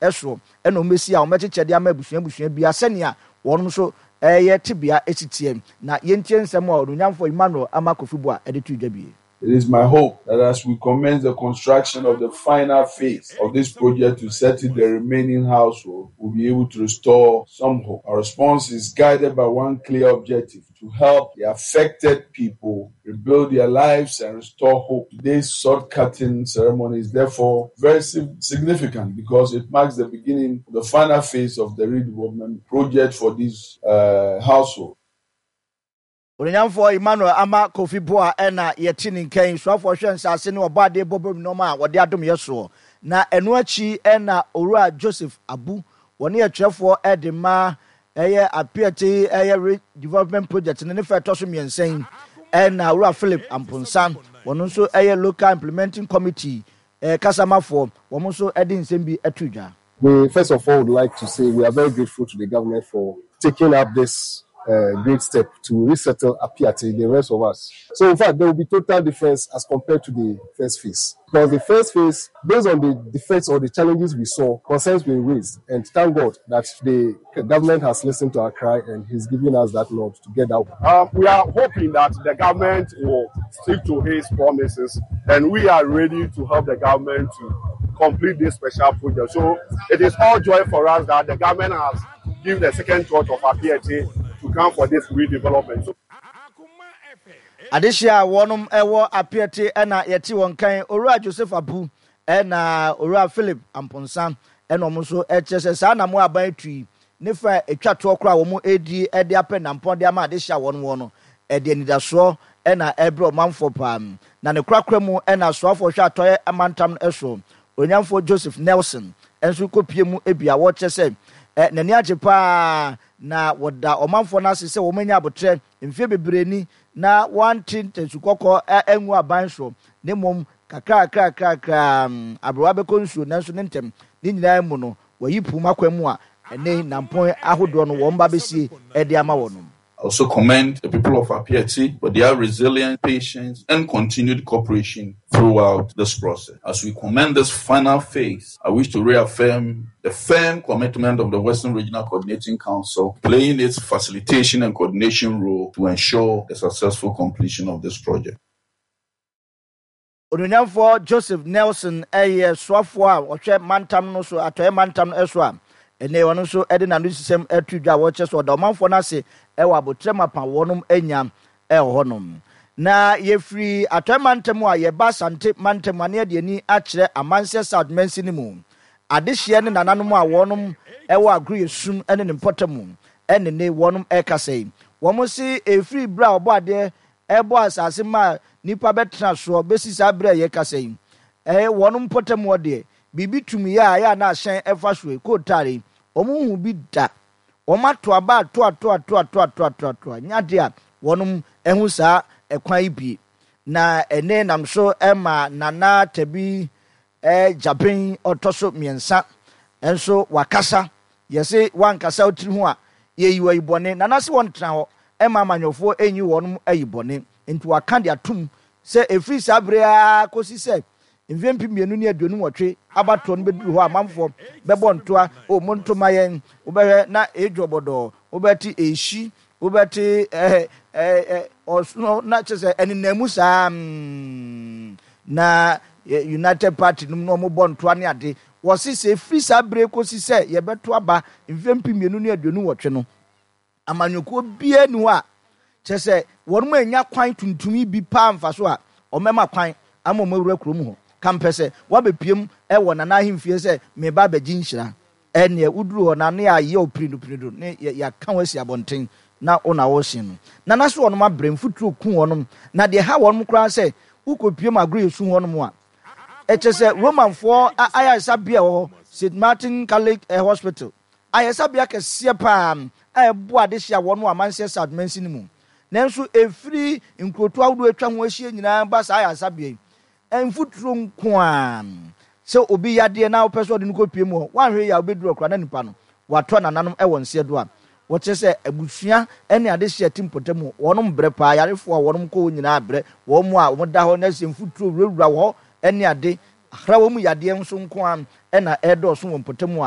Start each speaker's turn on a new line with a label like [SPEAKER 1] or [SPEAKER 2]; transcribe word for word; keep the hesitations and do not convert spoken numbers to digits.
[SPEAKER 1] Soɔ ɛna wɔn bɛsi a wɔbɛkyekyɛ de ama abusua abusua biara sɛnea wɔn nso ɛyɛ tebea esi teɛ. Na yɛntie nsɛm a Onuonyamfoɔ Emmanuel Armah Kofi Buah ɛde to dwa bie.
[SPEAKER 2] It is my hope that as we commence the construction of the final phase of this project to settle the remaining household, we'll be able to restore some hope. Our response is guided by one clear objective: to help the affected people rebuild their lives and restore hope. Today's sod cutting ceremony is therefore very significant because it marks the beginning of the final phase of the redevelopment project for this uh, household.
[SPEAKER 1] Onyamfoɔ Emmanuel Armah Kofi Buah ɛna yɛte ne nkan, soafoɔ hwɛ nsase ne ɔbɔ adeɛ bɔbɔ nneɛma a wɔde adom yɛ soɔ. Na ɛno akyi ɛna Owura Joseph Abu, wɔne yɛtwerɛfoɔ ɛde ma ɛyɛ Apiate ɛyɛ redevelopment project no ne fɛ ɛtɔ so mmiɛnsa yi, ɛna Owura Philip Amponsa, wɔn nso ɛyɛ local implementing committee ɛɛ kasamafoɔ, wɔn nso ɛde nsɛm bi ɛto dwa.
[SPEAKER 3] We first of all would like to say we are very grateful to the government for taking up this uh, great step to resettle Apiate, the rest of us. So in fact, there will be total difference as compared to the first phase. Because the first phase, based on the defects or the challenges we saw, concerns were raised. And thank God that the government has listened to our cry and he's giving us that nod to get out.
[SPEAKER 4] Um, we are hoping that the government will stick to his promises, and we are ready to help the government to complete this special project. So it is all joy for us that the government has given the second thought of Apiate to come for this redevelopment. So,
[SPEAKER 1] Adehyia a wɔnom ɛwɔ Apiate ɛna yɛte wɔn kan, Owura Joseph Abu ɛna Owura Philip Amponsa, ɛna wɔn nso ɛkyerɛ sɛ saa nam aban tu ne fa atwa toɔ koraa a wɔn edi ɛde apɛ nampɔn de ama adehyia a wɔn wɔ no, ɛde anidasoɔ ɛna ɛbrɛ ɔmanfoɔ paa. Na ne korakora mu ɛna asoafoɔ hwɛ atɔeɛ amantam ɛso, Onyamfoɔ Joseph Nelson, ɛnso kɔpie mu ebi a wɔkyerɛ sɛ ɛ n'ani agye paa na wɔda ɔmanfoɔ no ase sɛ wɔn anya abotrɛ mfeɛ bebree ni na wɔante ntasu kɔkɔɔ ɛngu aban soɔ, ne mmom kakrakrakrakra aberewa bɛkɔ nsuo. Nanso ne ntɛm ne nyinaa mu no, wɔyi puma kwan mu a ɛne nampɔn ahodoɔ no wɔn ba bɛsie ɛde ama wɔn.
[SPEAKER 2] I also commend the people of Apiate for their resilience, patience, and continued cooperation throughout this process. As we commence this final phase, I wish to reaffirm the firm commitment of the Western Regional Coordinating Council, playing its facilitation and coordination role to ensure the successful completion of this project.
[SPEAKER 1] Onuonyamfoɔ Joseph Nelson ɛyɛ soafoɔ a ɔhwɛ mantam no so, atɔeɛ mantam no so, a ɛnɛ ɔno nso ɛde n'ano sisɛm ɛto dwa a wɔkyerɛ so ɔda ɔmanfoɔ no ase ɛwɔ abotrɛ mapa wɔnom anya ɛwɔ hɔnom. Na yɛfiri atɔeɛ mantam a, yɛba Asante mantam a, ne yɛde ani akyerɛ Amanseɛ South mansini mu adehyeɛ ne nananom a wɔnom ɛwɔ Agorɔ Sum ne ne mpɔtam ɛne ne wɔnom ɛkasa yi. Wɔn se ɛfiri berɛ a ɔbɔ adeɛ ɛbɔ asase ma nipa bɛtena soɔ bɛsi saa berɛ a yɛkasa yi, ɛyɛ wɔn mpɔtam hɔ deɛ, biribi tumi yɛ a ɛyɛ a na ahyɛn ɛfa so yi kootaare yi, wɔn hu bi da. Wɔn ato aba ato ato ato ato ato ato ato a nyade a wɔn ɛho saa ɛkwan yi bie. Na ɛne nam so ɛma Nana Tabi ɛɛ Gyaben ɔtɔ so mmiɛnsa nso wakasa. Yɛse wankasa otiri ho a yɛyi wɔ yi bɔne. Nana se wɔn tena hɔ ɛma amanyɔfoɔ ɛnyi wɔn ayi bɔne, nti waka de atum sɛ efiri saa bere a kɔsi sɛ mfeɛ mpem mmienu ne aduonu nwɔtwe abatoɔ no bɛduru hɔ a, amanfoɔ bɛbɔ ntoa o mo ntoma yɛn, wobɛhwɛ na edwo bɔdɔɔ, wobɛte ehyi, wobɛte ɛɛ ɛɛ ɔsono na kyerɛ sɛ ɛnenam mu saa mm, na United Party nom na wɔn bɔ ntoa ne ade. Wɔsi sɛ efiri saa bere kɔsi sɛ yɛbɛto aba mfeɛ mpem mmienu ne aduonu nwɔtwe no, amanyɔkuo biara ni hɔ a kyerɛ sɛ wɔn mu anya kwan tuntum yi bi paa mfa so a ɔmɛma kwan ama wɔn awura kurom hɔ. Kampɛ sɛ wabɛpiem ɛwɔ Nana ahemfie sɛ meba abɛgye nhyira, ɛneɛ woduru hɔ na ne ayɛ opinidopinido ne yɛaka ho asi abɔnten na wo na wɔrehyɛn no. Nana so wɔnom abrɛ mfuturo ku wɔnom, na deɛ ha wɔnom koraa sɛ wokɔpiem Agorɔ Yɛsu hɔnom a, ɛkyɛ sɛ Romanfoɔ ayaresabea wɔ hɔ, Saint Martin Catholic Hospital, ayaresabea kɛseɛ paa a ɛboa adehyɛ a wɔn wɔ Amanseɛ South mansini mu. Nanso ɛfiri nkurotoɔ ahodoɔ atwa ho ahyia nyinaa ba saa ayaresabea yi, mfuturo nko a sɛ obi yadeɛ na wopɛ sɛ ɔde no kɔpie mu hɔ, woanhwɛ yi a wobɛduru ɔkora na nipa no watɔ nananom ɛwɔ nseɛ do a wɔkyerɛ sɛ abusua ne adehyɛ ti mpɔtam wɔnom brɛ paa. Yarefoɔ a wɔnom kɔ hɔ nyinaa brɛ wɔn mu a wɔda hɔ na sɛ mfuturo wurawura wɔ hɔ ne ade ahra wɔn mu yadeɛ nso nko a ɛna ɛredɔɔso wɔ mpɔtam a.